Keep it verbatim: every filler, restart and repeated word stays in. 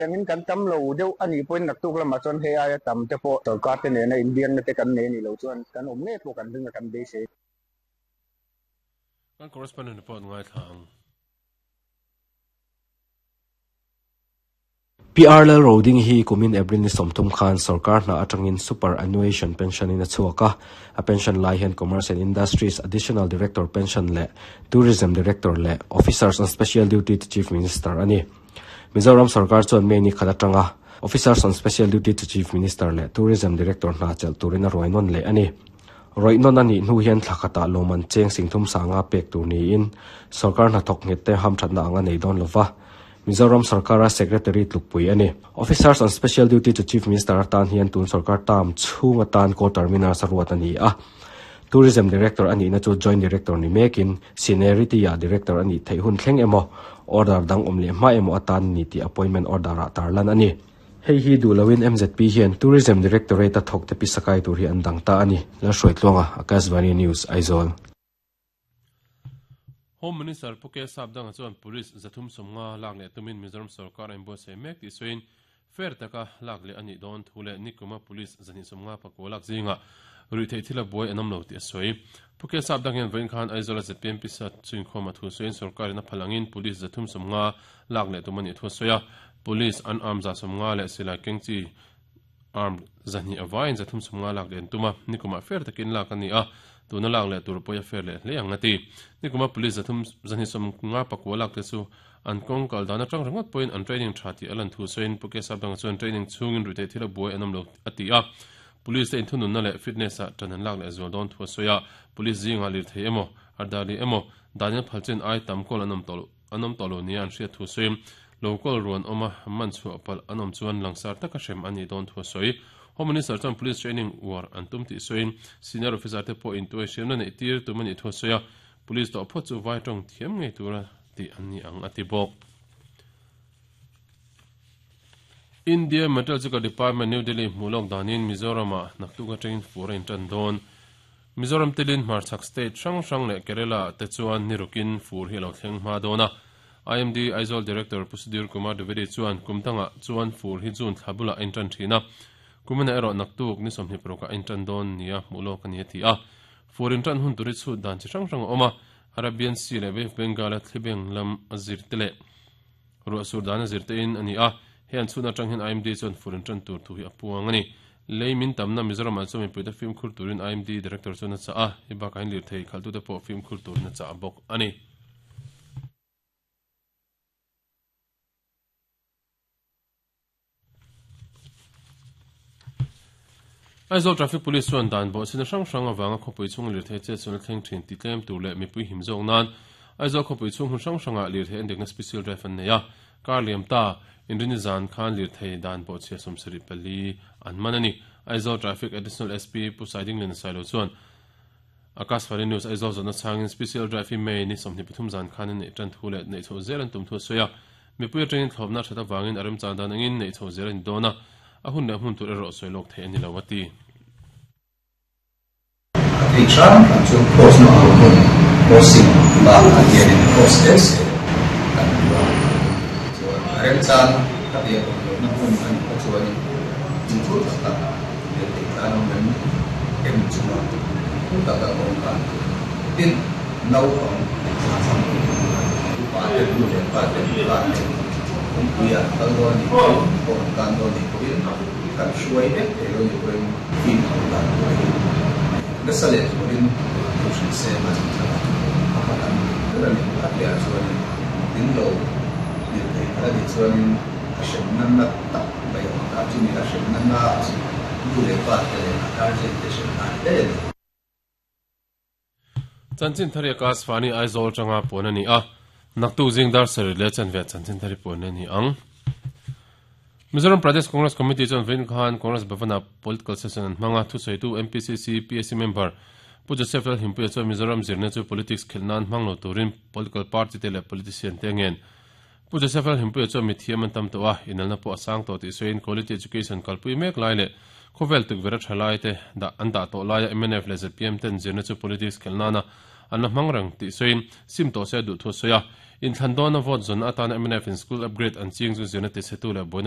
Tangin kan tam lo deuh ani point naktuk lama chuan hei aia tam te pawh sorkar te nena Indian na te kan nei ni lo chuan kan awm nge pawh kan ringa kan beisei. Kan correspondent report ngai thlang. P R L Roding hi kumin April ni somthum khan sarkar na atangin superannuation pension in a chuaka a pension lai hian Commerce and Industries Additional Director pension le Tourism Director le Officers on Special Duty to Chief Minister ani Mizoram sarkar chuan me ni khalatanga Officers on Special Duty to Chief Minister le Tourism Director na chel turin a roinon le ani roinon ani nu hian thlakhata loman cheng singthum sanga pek tur ni in sarkar na thok nge te ham thatna anga nei don lova Mizoram Sarkara Secretary tlukpui ani Officers on Special Duty to Chief Minister tan hian tun sarkar tam chhunga tan ko terminal saruat ani a Tourism Director ani na chu Joint Director ni mekin Seniority ya Director ani theihun thleng emo order dang omle ma emo atan ni ti appointment order a tarlan ani hei hi dulawin M Z P hian Tourism Directorate a thok te pisakai tur hi an dang ta ani la hruaitluanga Akashvani News Aizawl. Home Minister Puke Sabdang chuan police zathum somnga lak le tumin Mizoram sarkar an buatsaih mek tih sawiin fair taka lak leh ani dawn thu leh nikuma police zani somnga pakua lak zinga rui theih thil a buai an awm lo tih a sawi. Puke Sabdang hian vawiin khan Aizawl a Z P M P sat chuinkhawm a thu sawiin sarkarin a phalangin police zathum somnga lak leh tum ani thu a sawi a. Police an arm za somnga leh silai kengchi arm zani awain zathum somnga lak leh an tuma nikuma fair takin lak ani a tuna lak leh tur pawh a fair leh hle ang ati nikuma police zathum zani somnga pakua lak te chu an kawng kal dan atang ringawt pawhin an training tha tih a lan thu sawiin Puke Sabdang chuan training chhungin rui theih thil a buai an awm lo ati a police te inthununna leh fitness ah tan an lak leh zual dawn thu a sawi a police zinga lir thei emaw ardali emaw daniel phalchen ai tam kawl an awm tawh an awm tawh lo nia an hriat thu sawiin local ruan awma man chhuah pal an awm chuan langsar taka hrem ani dawn thu a sawi. Home Minister chuan police training war an tum tih sawiin senior officer te pawh intuai hriamna neih tir tum ani thu a sawi a police tawh phawt chu vai tawng thiam ngei tura ti an ni ang ati bawk. India Meteorological Department New Delhi hmuh danin Mizoram ah naktuk atangin fur a intan dawn. Mizoram telin Hmarchhak state hrang hrang leh Kerala te chuan nirukin fur hi lo thleng hma dawn a. I M D Aizawl Director Pusudir Kumar Dwivedi chuan kumtanga chuan fur hi June thlabula a intan thina. Kumina erawh naktuk ni sawmhnih paruk a intan dawn nia hmuh lawk ani a ti a. Fur intan hun turi chhut dan chi hrang hrang a awm a. Arabian Sea leh Bay of Bengal a thlibeng lam a zir te leh ruah sur dan a zir te in ani a. Hei an chhun atang hian I M D chuan fur intan tur thu hi a puang ani. Lei min tamna Mizoram ah chuan mipui te fimkhur turin I M D Director chuan a chah a. Hei bakah hian lir thei khaltu te pawh fimkhur turin a chah a bawk ani. Aizawl Traffic Police chuan dan bawh sin hrang hrang awanga khawpui chung lir thei che chuan thleng thin ti tlem tur leh mipui him zawk nan Aizawl khawpui chung hun hrang hranga lir thei an dekna special drive an nei a kar liam ta inrini zan khan lir thei dan bawh chhia sawmsarih pali an man ani. Aizawl Traffic Additional S P Pu Saiding Len Sailo chuan Akashvani News Aizawl zawhna chhangin special drive hi May ni sawmhnih pathum zan khan an neih tan thu leh neih chho zel an tum thu a sawi a. Mipui atangin thlawpna that awangin a remchan dan angin neih chho zel an dawn a. A hun leh hmun tur erawh sawi lawk thei ani lo ati. A thei hrang hrang chu cross na ang hun crossing bakah hianin cross te se kan hmu a. Chuan a remchan ka biak awm lohna hmun a nih kha chuanin inthur tak tak leh thei tlan awm em em chunga thu tak a awm khan tin naupang thla upa te nu leh pa te pa te kawngpui an kal dawn anih pawhin kawng an tan dawn anih pawhin kan hruai vek thei lo anih pawhin fimkhur dan tur hi nasa leh turin thu hrilh sem a ni tlat a. Pakhat an ber a ni a piah chuanin in lo lir thei kha anih chuanin a hremna na tak mai a awm ta chumi a hremna na chu nu leh pa te leh a guardian te hremna ani daih a ni. Chanchin thari Akashvani Aizawl tanga puan ani a. Naktuk zing dar sarih leh chanve chanchin thari puan ani ang. Mizoram Pradesh Congress Committee chuan vawiin khan Congress Bhavana political session an hmanga thu sawitu M P C C P S C member Pu Joseph Lal Himpuia chuan Mizoram zirna chu politics khelh nan hmang lo turin political party te leh politician te ngen. Pu Joseph Lal Himpuia chuan mi thiam an tam tawh a inalna pawh a sang tawh tih sawiin quality education kalpui mek lai leh khawvel tukverh a tha lai te dah an dah tawh laia M N F leh Z P M ten zirna chu politics khelh nana an la hmang reng tih sawiin sim tawh se duh thu sawi a. In thlan dawn a vote zawn atana M N F in school upgrade an ching chu zirna ti chhetu leh buaina